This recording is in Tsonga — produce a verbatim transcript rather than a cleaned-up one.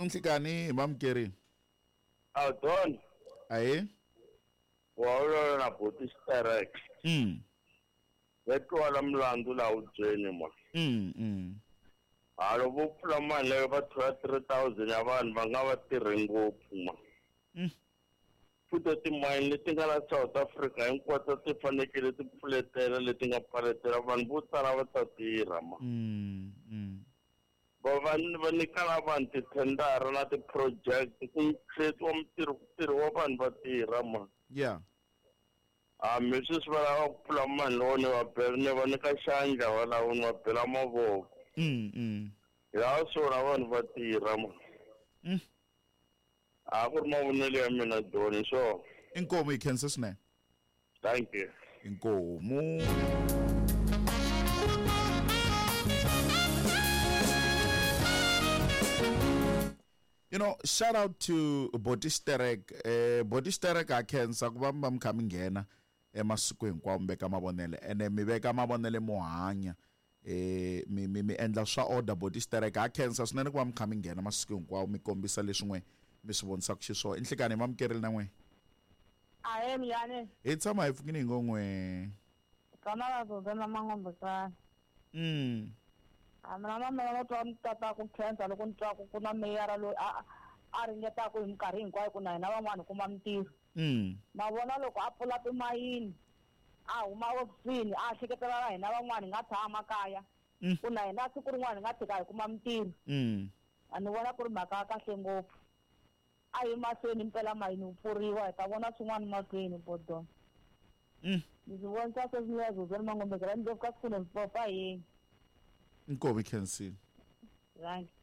Nhlikani hi mamukeri. A Don. Aye. Wa ulo na boti sterek. Mm. Vetwala mlandu la udzeni ma. Mm mm. Alo vo pfula mali leyo va thola three thousand ya vanhu va nga va tirhi ngopfu ma. Mm. Futhi timayini leti nga la South Africa hinkwato ti fanekele ti pfuletela leti nga pfaletela vanhu vo tala va ta tirha ma. Mm mm. Va va va nyika na vanhu tithendara na ti-project ku create-iwa mintirho ku tirhiwa vanhu va tirha ma. Yeah. A mi sweswi va lava ku pfula mali lowo ni va bela ni va nyika xandla va lava ni va bela mavoko. Mm mm. Ya swona vanhu va tirha ma. Mm. A ku ri mavonelo ya mina Don so. Inkomu hi khensa swinene. Thank you. Inkomu. You know, shout out to Boti Sterek. Eh Boti Sterek a khensa ku va mi kha mi nghena emasiku hinkwawo mi veka mavonelo ene mi veka mavonelo mo hanya. Eh mi mi mi endla swa order Boti Sterek a khensa swinene ku va mi kha mi nghena masiku hinkwawo mi kombisa leswi n'we mi swi vonisaka xiswona. Inhlekani mamukerile na n'we. Ahe miyane. Hi tshama hi pfukini hi ngo n'we. Kana la zo na mangombe ka. Mm. A mina na mina no twa tata ku khensa loko ni twa ku ku na meyara loyi a a ringetaka hi minkarhi hinkwayo ku na hina van'wana kuma mintirho. Mm. Ma vona loko a pfula timayini a huma ofisini a hleketela hina van'wana hi nga tshama kaya. Ku na hina siku rin'wana hi nga tshika hi kuma mintirho. Mm. A ni vona ku ri mhaka ya kahle ngopfu. A yi mahlweni mpela mayini wu pfuriwa hi ta vona swin'wana mahlweni bodon. Mm. Ndzi vona sweswi ni ya zozeni mangombe ra ndzi ka siku ni popa yini. Inkomu khensile. Thank you.